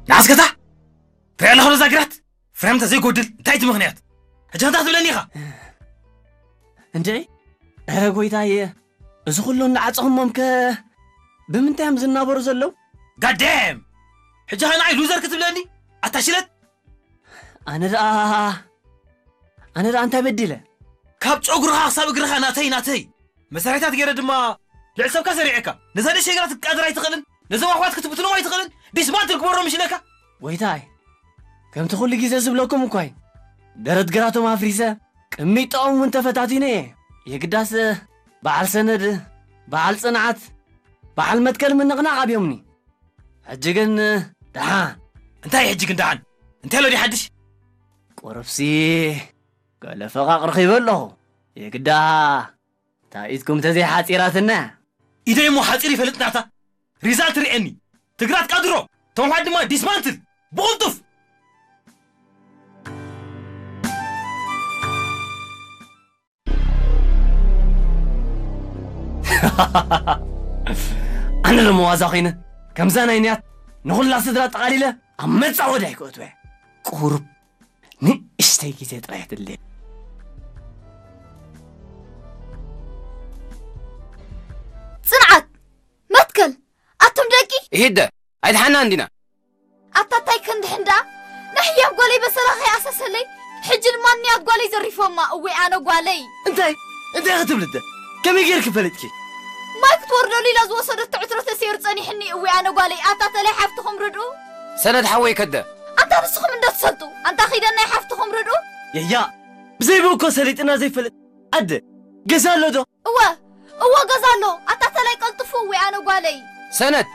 ንዓስከታ ትሪኣ ኣለኻ ዶ እዛ ግራት? ፍሬም እንተዘይጎድል እንታይ እቲ ምኽንያት? ሕጂ እንታይ ክትብለኒ ኢኻ? እንድዒ፣ ኧረ ጎይታየ፣ እዚ ኩሉ እንዳዓጸኹሞም ከ ብምንታይ እዮም ዝናበሩ ዘለዉ? ጋዴም! ሕጂ ኸ ንዓይ ሉዘር ክትብለኒ? ኣታ ሽለት! ኣነ ደኣ፣ ኣነ ደኣ እንታይ በዲለ? ካብ ጨጉርኻ ክሳብ እግርኻ ናተይ፣ ናተይ! መሳርሒታት ገይረ ድማ ልዕሊ ሰብካ ሰሪዐካ። ነዛ ንእሽተይ ግራት ክትቃደር ኣይትኽእልን? ነዞም ኣሕዋት ክትብትኖም ኣይትኽእልን? ዲስማንትል ክበሮም ይሽለካ? ጎይታይ፣ ከምቲ ኩሉ ግዜ ዝብለኩም እኳ እዩ። ደረት ግራቶም ኣፍሪሰ፣ ቅሚጦም እውን ተፈታቲነ እየ። የግዳስ በዓል ሰነድ፣ በዓል ጽንዓት፣ በዓል መትከል ምንቕናቕ ኣብዮምኒ። ሕጂ ግን ደሓን። እንታይ ሕጂ ግን ደሓን? እንታይ ኣሎ ድዩ ሓድሽ? ቁሩብሲ ገለ ፈቓቕ ረኺበ ኣለኹ። የግዳ እታ ኢድኩም ተዘይሓጺራትና። ኢደይ እሞ ሓጺር ይፈልጥ ናታ። ሪዛልት ርኤኒ። ትግራት ቀድሮ። ተምሓድ ድማ ዲስማንትል። ብቕልጡፍ! ኣነ ደሞ ዋዛ ኮይነ፣ ከምዛ ናይ ንያት ንኹላ ስድራ ጠቓሊለ ኣብ መጻወድያ ኣይክእትወ። ቁሩብ ንእሽተይ ግዜ ጥራይ ትድልየ። ጽንዓት! መትከል! ኣቱም ደቂ! ይሂደ! ኣይድሓና እንዲና። ኣታ ታይ ክንድሕን ደኣ ናይ ህያብ ጓለይ በሰላ ከይኣሰሰለይ ሕጂ ድማ ንያት ጓለይ ዘሪፎማ እወይ ኣነ ጓለይ እንታይ እንታይ ክትብሊ ደ ከመይ ጌርኪ ፈለጥኪ ማይ ክትወርደሉ ኢላ ዝወሰደቶ ዕትሮ ተሰይሩ ጸኒሕኒ እወይ ኣነ ጓለይ ኣታ ተላይ ሓፍትኹም ርድኡ ሰነድ ሓወይ ከደ ኣንታ ንስኹም እንዶ ትሰልጡ ኣንታ ኺደን ናይ ሓፍትኹም ርድኡ የያ ብዘይ ብእኮ ሰሊጥና ዘይፈልጥ ኣደ ገዛ ኣሎ ዶ እወ እወ ገዛ ኣሎ ኣታ ተላይ ቀልጥፉ እወይ ኣነ ጓለይ ሰነድ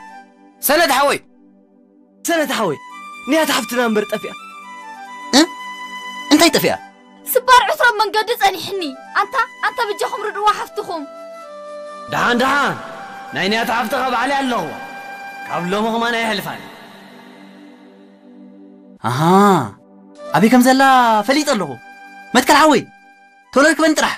ሰነድ ሓወይ ሰነድ ሓወይ ንያት ሓፍትና እምበር ጠፊኣ እ እንታይ ጠፊኣ ስባር ዕትሮ ኣብ መንገዲ ጸኒሕኒ ኣንታ ኣንታ ብጃኹም ርድዋ ሓፍትኹም ደሓን ደሓን ናይ ንያት ሓፍትኻ ባዕለይ ኣለኹ ካብ ሎሚ ኸማን ኣይሕልፋን ኣሃ ኣበይ ከም ዘላ ፈሊጠ ኣለኹ መትከል ሓወይ ቶሎ ርክበን ጥራሕ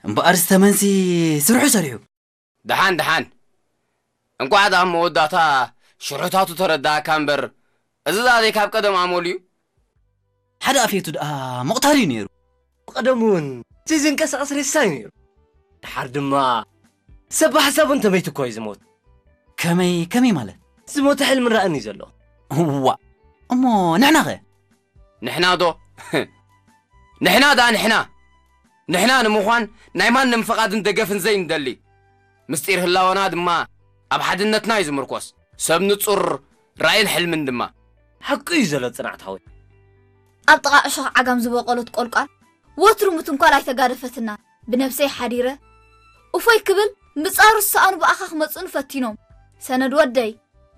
እምበኣር ዝተመንሲ ስርሑ ሰሪሑ ደሓን ደሓን እንቋዕ ደኣ መወዳእታ ሽርሕታቱ ተረዳእካ እምበር እዚ ደኣ ዘይካብ ቀደም ኣመሉ እዩ። ሓደ ኣፌቱ ደኣ መቕታል እዩ ነይሩ። ብቐደሙ እውን ዘይዝንቀሳቐስ ሬሳ እዩ ነይሩ። ደሓር ድማ ሰብ ብሓሳቡ እንተመይቱ እኮ እዩ ዝሞት። ከመይ ከመይ ማለት? ዝሞተ ሕልሚ ራእን እዩ ዘሎ። እዋእ እሞ ንሕናኸ? ንሕና ዶ ንሕና ደኣ ንሕና ንሕና ንምዃን ናይ ማንም ፍቓድን ደገፍን ዘይንደሊ ምስጢር ህላወና ድማ ኣብ ሓድነትና እዩ ዝምርኮስ ሰብ ንጹር ራእይን ሕልምን ድማ ሓቁ እዩ ዘሎ ጽናዕት ሓወይ ኣብ ጥቓ ዕሾኽ ዓጋም ዝበቖለት ቆልቋል ወትሩ ምትንኳል ኣይተጋደፈትናን ብነብሰይ ሓዲረ እፎይ ክብል ምጻሩ ዝሰኣኑ ብኣኻ ክመጹኒ ፈቲኖም ሰነድ ወደይ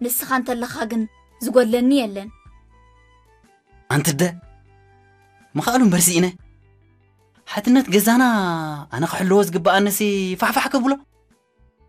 ንስኻ እንተለኻ ግን ዝጎድለኒ የለን። ኣንቲ ኣደ ምኽኣሉ እምበር ስኢነ። ሓድነት ገዛና ኣነ ክሕልዎ ዝግበኣኒሲ ፋሕፋሕ ከብሎ።